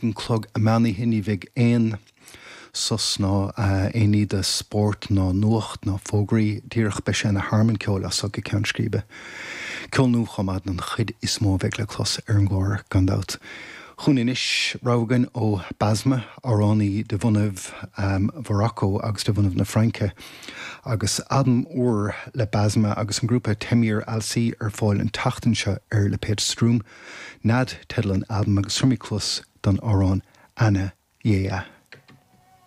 an chlog meánoíche. Ní bheidh aon sos ná aon ní de spórt ná nuacht ná fógraí. Díreach beidh sé ina thearmann ceoil as so go ceann scríbe. Ceol nua chomh maith den chuid is mó a bheidh le clos ar an gclár, gan dabht. Chugainn anois, rogha againn ó Basma, amhránaí de bhunaibh Mhorocco agus de bhunaibh na Fraince, agus albam úr le Basma agus an grúpa Temir Alsi ar fáil an tseachtain seo ar lipéad Streum. Nead teideal an albaim agus tabharfaimid cluas don amhrán Ana Yea.